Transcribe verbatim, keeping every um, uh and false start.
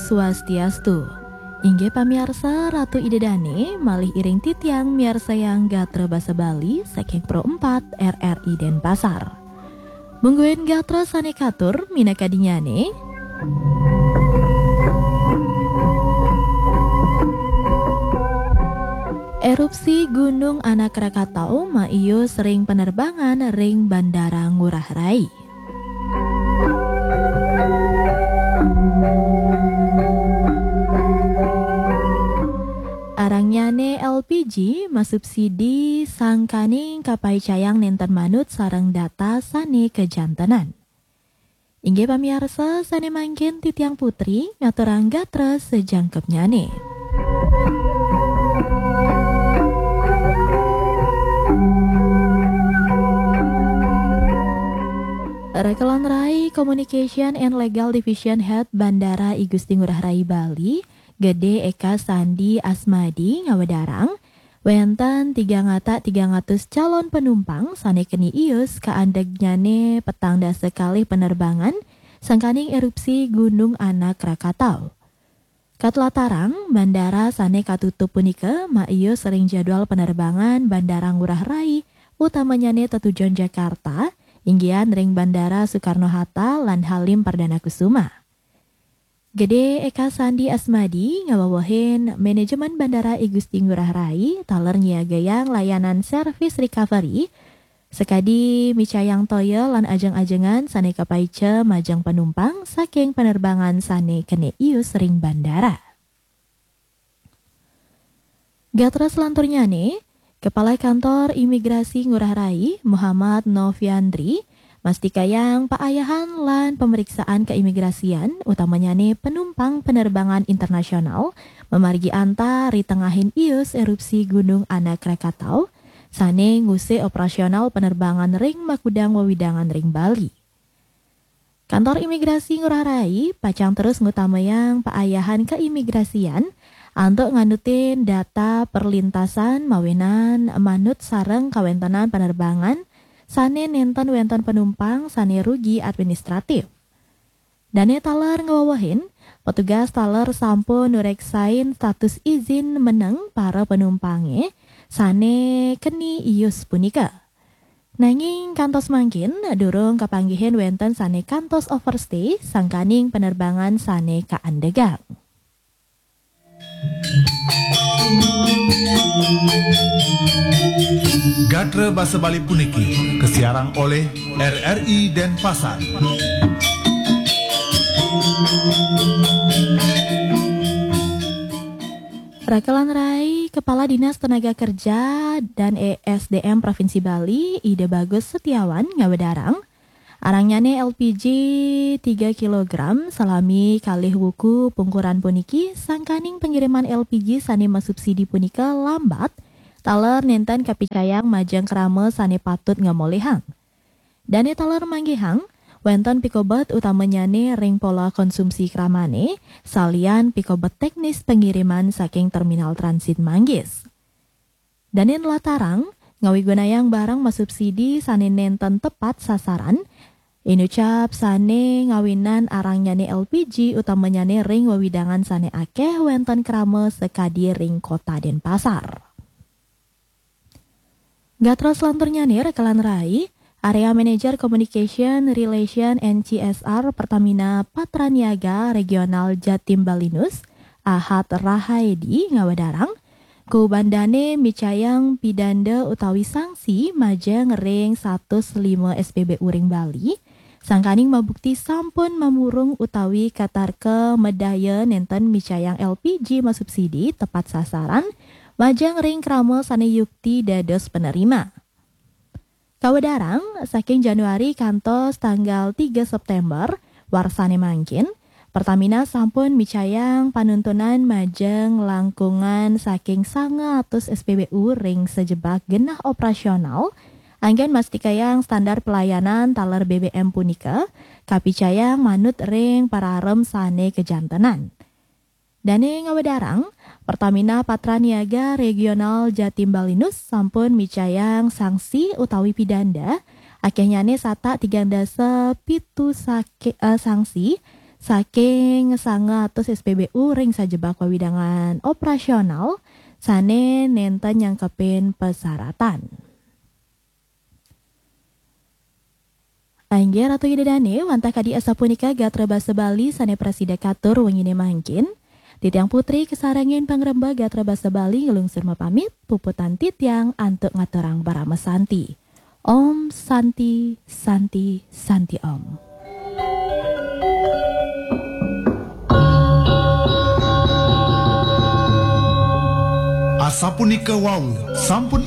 Swastiastu. Inggih pamiarsa, Ratu Ida Dane malih iring titiang miarsayang gatra basa Bali saking Pro empat R R I Denpasar. Mungguing gatra sane katur minakadinyane. Erupsi Gunung Anak Rakatau maius ring penerbangan ring Bandara Ngurah Rai. Arangnyane L P G masubsidi sangkaning kapaicayang nenten manut sareng data sane kajantenan. Inggih pamiarsa, sane mangkin titiang Putri ngaturang gatra sajangkepnyane. Rekelan Rai Communication and Legal Division Head Bandara I Gusti Ngurah Rai Bali, Gede Eka Sandi Asmadi ngawedarang, wenten tigang ata tigang atus calon penumpang sane keni ius kaandegnyane petang dasa kalih penerbangan sangkaning erupsi Gunung Anak Rakatau. Katlatarang, bandara sane katutup punika maius ring jadwal penerbangan Bandara Ngurah Rai, utamanyane tetujon Jakarta, inggihan ring Bandara Soekarno-Hatta lan Halim Perdana Kusuma. Gede Eka Sandi Asmadi ngawewehin manajemen Bandara I Gusti Ngurah Rai taler nyiagayang layanan service recovery, sakadi micayang toya lan ajeng-ajengan sane kapaica majeng panumpang saking penerbangan sane kene ius ring bandara. Gatra selanturnyane, Kepala Kantor Imigrasi Ngurah Rai, Muhammad Noviandri, mastikayang paayahan lan pemeriksaan keimigrasian, utamanyane penumpang penerbangan internasional, mamargi antar ri tengahin ius erupsi Gunung Anak Rakatau, sane ngusik operasional penerbangan ring makudang wewidangan ring Bali. Kantor Imigrasi Ngurah Rai pacang terus ngutamayang paayahan keimigrasian antuk nganutin data perlintasan mawinan manut sareng kawentenan penerbangan sane nenten wenten penumpang sane rugi administratif. Dane taler ngawewehin, petugas taler sampun nureksain status izin meneng para penumpange sane keni ius punika. Nanging kantos mangkin durung kapanggihin wenten sane kantos overstay sangkaning penerbangan sane kaandegang. Gatra basa Bali puniki kasiarang oleh R R I Denpasar. Rakelan rai, Kepala Dinas Tenaga Kerja dan E S D M Provinsi Bali, Ida Bagus Setiawan, ngawedarang, arangnyane L P G tiga kilogram salami kalih wuku pungkuran puniki, sangkaning pengiriman L P G sane masubsidi punika lambat, taler nenten kapicayang majeng krama sane patut ngamolihang. Dane taler manggihang, wenten pikobet utamanyane ring pola konsumsi kramane, salian pikobet teknis pengiriman saking terminal transit Manggis. Dane nlatarang, ngawigunayang barang masubsidi sane nenten tepat sasaran, inucap sane ngawinan arangnyane L P G utamanyane ring wewidangan sane akeh wenten krama sakadi ring Kota Denpasar. Gatra selanturnyane, Rakelan Rai, Area Manager Communication, Relation, and C S R Pertamina Patraniaga Regional Jatim Balinus, Ahad Rahaedi, ngawedarang, kubandane micayang pidanda utawi sanksi majeng ring satus lima S P B U ring Bali, sangkaning mabukti sampun mamurung utawi katarka madaya nenten micayang L P G masubsidi tepat sasaran, majeng ring krama sane yukti dados penerima. Kawedarang, saking Januari kantos tanggal tiga September, warsane mangkin, Pertamina sampun micayang panuntunan majeng langkungan saking sanga atus S P B U ring sajebag genah operasional, anggen mastikayang standar pelayanan taler B B M punika kapicayang manut ring pararem sane kajantenan. Dane ngawedarang, Pertamina Patraniaga Regional Jatim Balinus sampun micayang sanksi utawi pidanda, akehnyane satak tigang dasa pitu sake-, eh, sanksi, saking sangatus S P B U ring sajebak wewidangan operasional sane nenten nyangkepin persyaratan. Inggih Ratu Ida Dane, wantah kadi asapunika gatra basa Bali sane prasida katur wengine mangkin. Titiang Putri kasarengin pangrembag gatra basa Bali nglungsur mapamit, puputang titiang antuk ngaturang parama santi. Om Santi, Santi, Santi Om. Asapunika wau, sampun